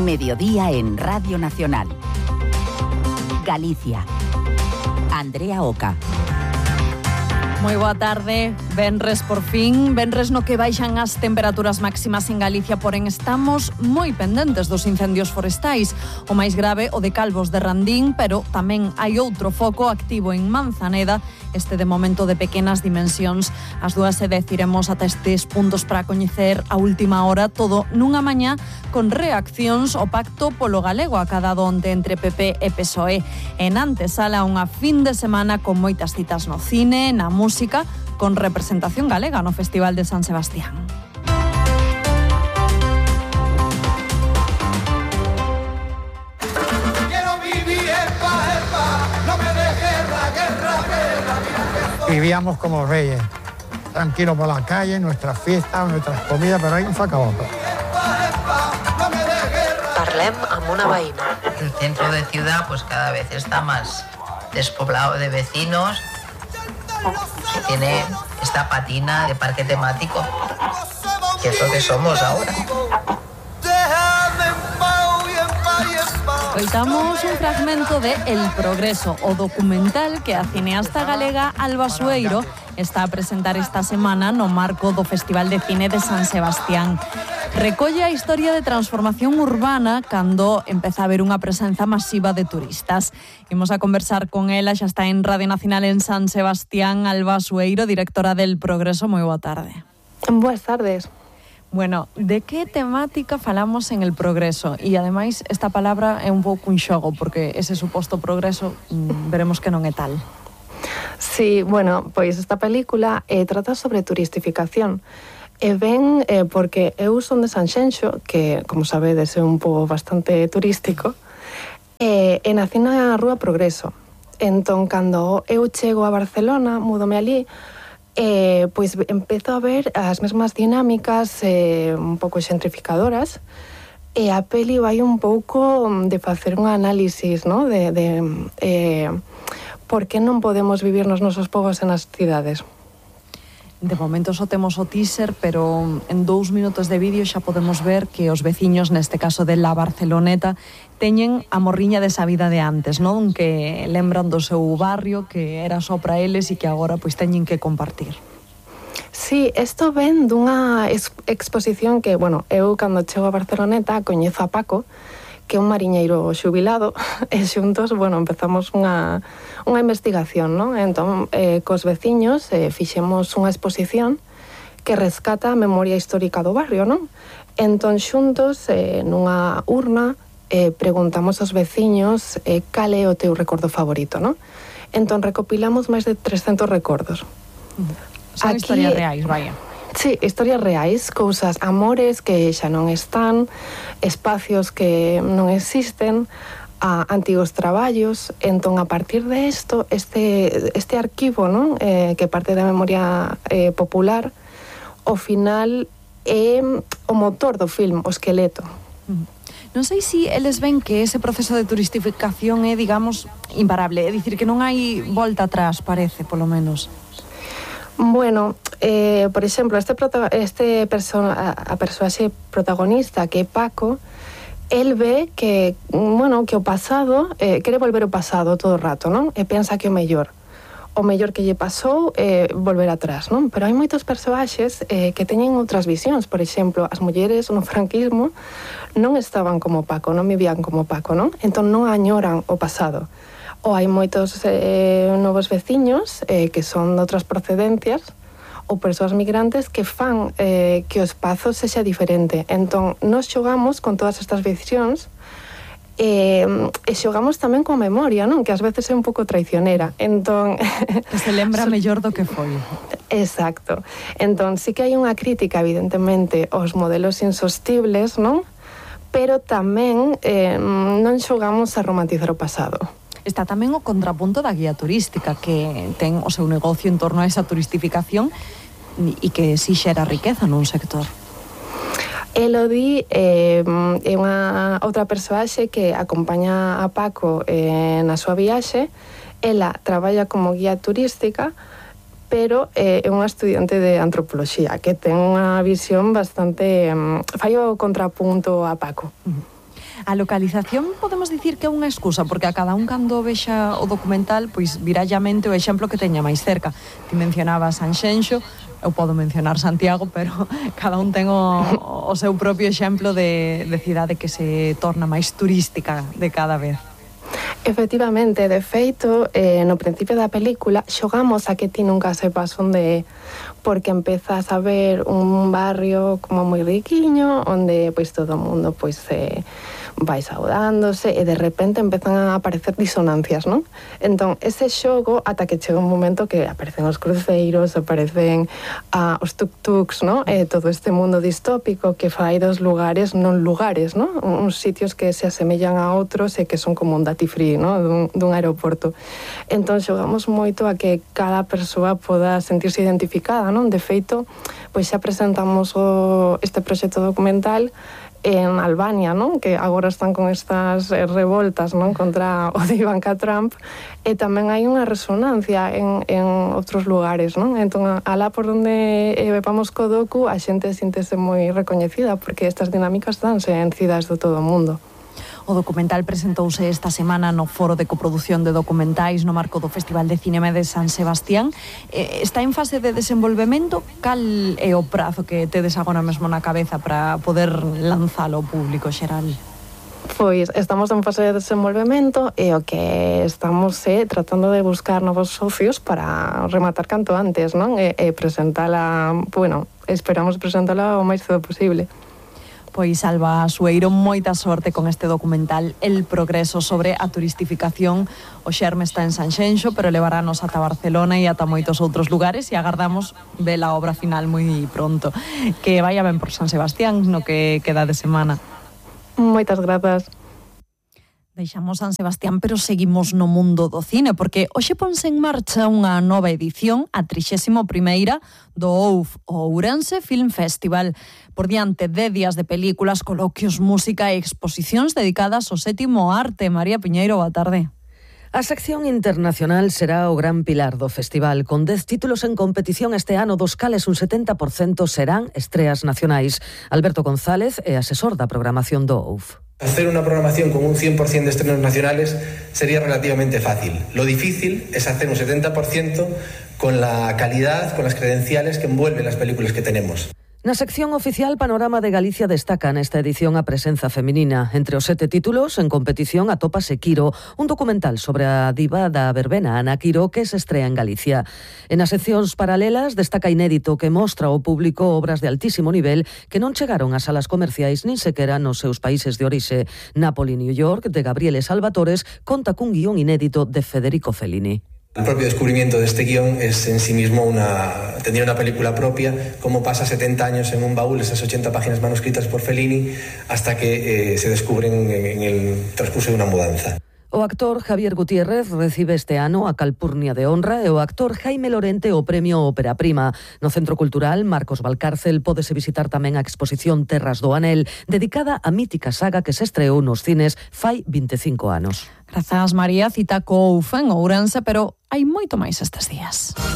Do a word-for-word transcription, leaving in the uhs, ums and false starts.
Mediodía en Radio Nacional. Galicia. Andrea Oca. Moi boa tarde, venres por fin, venres no que baixan as temperaturas máximas en Galicia, porén estamos moi pendentes dos incendios forestais. O máis grave, o de Calvos de Randín, pero tamén hai outro foco activo en Manzaneda, este de momento de pequenas dimensións. As dúas se deciremos ata estes puntos para coñecer a última hora, todo nunha mañá con reaccións ao pacto polo galego acadado onte entre P P e P S O E. En antesala unha fin de semana con moitas citas no cine, na música, con representación galega no Festival de San Sebastián. Vivíamos como reyes, tranquilos por la calle, nuestras fiestas, nuestras comidas, pero ahí se acabó todo. Parlem amb una veïna. El centro de ciudad pues cada vez está más despoblado de vecinos. Se tiene esta patina de parque temático, que es lo que somos ahora. Coitamos un fragmento de El Progreso, o documental que a cineasta galega Alba Sueiro está a presentar esta semana no marco do Festival de Cine de San Sebastián. Recolle a historia de transformación urbana cando empeza a haber unha presenza masiva de turistas. Imos a conversar con ela, xa está en Radio Nacional en San Sebastián, Alba Sueiro, directora del Progreso. Moi boa tarde. Boas tardes. Bueno, de que temática falamos en El Progreso? E, ademais, esta palabra é un pouco un xogo, porque ese suposto progreso mmm, veremos que non é tal. Sí, bueno, pois esta película eh, trata sobre turistificación. E ben, eh, porque eu son de Sanxenxo, que, como sabedes, é un pouco bastante turístico, e, e nací na Rúa Progreso. Entón, cando eu chego a Barcelona, múdome ali, Eh, pois empezo a ver as mesmas dinámicas eh, un pouco xentrificadoras, e a peli vai un pouco de facer un análisis, ¿no? de, de eh, por que non podemos vivir nos nosos povos en as cidades. De momento só temos o teaser, pero en dous minutos de vídeo xa podemos ver que os veciños, neste caso de La Barceloneta, teñen a morriña desa vida de antes, non? Que lembran do seu barrio, que era só para eles e que agora pois teñen que compartir. Sí, isto ven dunha ex exposición que, bueno, eu cando chego a Barceloneta coñezo a Paco, que é un mariñeiro xubilado, e xuntos, bueno, empezamos unha, unha investigación, non? Entón, eh, cos veciños eh, fixemos unha exposición que rescata a memoria histórica do barrio, non? Entón, xuntos, eh, nunha urna, eh, preguntamos aos veciños eh, cal é o teu recordo favorito, non? Entón, recopilamos máis de trescentos recordos. Son Aquí, historias reais, vaya. Sí, historias reais, cousas, amores que xa non están, espacios que non existen, a antigos traballos. Entón, a partir de isto, este, este arquivo, non? Eh, que parte da memoria eh, popular, ao final é o motor do film, o esqueleto. Non sei se eles ven que ese proceso de turistificación é, digamos, imparable, é dicir, que non hai volta atrás, parece, polo menos. Bueno, eh, por exemplo, este, este perso a, a persoaxe protagonista, que é Paco, el ve que, bueno, que o pasado, eh, quere volver ao pasado todo o rato, non? E pensa que o mellor, o mellor que lle pasou é eh, volver atrás, non? Pero hai moitos persoaxes eh, que teñen outras visións. Por exemplo, as mulleres no franquismo non estaban como Paco, non vivían como Paco, non? Entón non añoran o pasado. Ou hai moitos eh, novos veciños eh, que son de outras procedencias ou persoas migrantes que fan eh, que o espazo sexa diferente. Entón, nos xogamos con todas estas visións eh, e xogamos tamén coa memoria, non? Que ás veces é un pouco traicionera. Entón, que se lembra mellor do que foi. Exacto. Entón, sí que hai unha crítica, evidentemente, aos modelos insostibles, non? Pero tamén eh, non xogamos a romantizar o pasado. Está tamén o contrapunto da guía turística, que ten o seu negocio en torno a esa turistificación e que si xera riqueza nun sector. Elodie eh, é unha outra persoaxe que acompaña a Paco eh, na súa viaxe. Ela traballa como guía turística, pero eh, é unha estudiante de antropoloxía que ten unha visión bastante... Um, fai o contrapunto a Paco. Uh-huh. A localización podemos dicir que é unha excusa, porque a cada un cando vexa o documental, pois virá a mente o exemplo que teña máis cerca. Ti mencionabas Sanxenxo, eu podo mencionar Santiago, pero cada un ten o, o seu propio exemplo de, de cidade que se torna máis turística de cada vez. Efectivamente, de feito, eh, no principio da película xogamos a que ti nunca sepas onde é, porque empezas a ver un barrio como moi riquiño, onde pois todo o mundo pois eh, vai saudándose e de repente empezan a aparecer disonancias, non? Entón, ese xogo, ata que chega un momento que aparecen os cruceiros, aparecen ah, os tuk-tuks, non? E todo este mundo distópico que fai dos lugares non lugares, non? Uns sitios que se asemellan a outros e que son como un duty free, non? Dun, dun aeroporto. Entón, xogamos moito a que cada persoa poda sentirse identificada, non? De feito, pois xa presentamos o, este proxecto documental en Albania, non? Que agora están con estas eh, revoltas, non? Contra o de Ivanka Trump, e tamén hai unha resonancia en, en outros lugares, non? Entón, alá por onde eh, vamos co docu, a xente síntese moi recoñecida, porque estas dinámicas danse en cidades do todo o mundo. O documental presentouse esta semana no Foro de Coproducción de Documentais no marco do Festival de Cinema de San Sebastián. Eh, está en fase de desenvolvemento. Cal é o prazo que tedes agora mesmo na cabeza para poder lanzalo ao público xeral? Pois estamos en fase de desenvolvemento e o que estamos é eh, tratando de buscar novos socios para rematar canto antes, non? E, e presentala, bueno, esperamos presentala o máis cedo posible. Pois Alba Sueiro, moita sorte con este documental El Progreso sobre a turistificación. O xerme está en Sanxenxo, pero levarános ata Barcelona e ata moitos outros lugares e agardamos ver a obra final moi pronto. Que vaya ben por San Sebastián no que queda de semana. Moitas grazas. Deixamos San Sebastián, pero seguimos no mundo do cine, porque hoxe ponse en marcha unha nova edición, a trixésima primeira do O U F, o Ourense Film Festival. Por diante de días de películas, coloquios, música e exposicións dedicadas ao sétimo arte. María Piñeiro, boa tarde. A sección internacional será o gran pilar do festival, con dez títulos en competición este ano, dos cales un setenta por cento serán estreas nacionais. Alberto González é asesor da programación do O U F. Hacer una programación con un cien por ciento de estrenos nacionales sería relativamente fácil. Lo difícil es hacer un setenta por ciento con la calidad, con las credenciales que envuelven las películas que tenemos. Na sección oficial, Panorama de Galicia destaca nesta edición a presenza feminina. Entre os sete títulos en competición atópase Quiro, un documental sobre a diva da verbena Ana Quiro que se estrea en Galicia. En as seccións paralelas destaca Inédito, que mostra ao público obras de altísimo nivel que non chegaron ás salas comerciais nin sequera nos seus países de orixe. Napoli, New York, de Gabriele Salvatores, conta cun guión inédito de Federico Fellini. El propio descubrimiento de este guión es en sí mismo una, tendría una película propia, cómo pasa setenta años en un baúl esas ochenta páginas manuscritas por Fellini hasta que eh, se descubren en, en el transcurso de una mudanza. O actor Javier Gutiérrez recibe este ano a Calpurnia de Honra e o actor Jaime Lorente o premio Ópera Prima. No Centro Cultural Marcos Valcárcel pódese visitar tamén a exposición Terras do Anel, dedicada á mítica saga que se estreou nos cines fai vinte e cinco anos. Grazas, María. Cita co O U F en Ourense, pero hai moito máis estes días.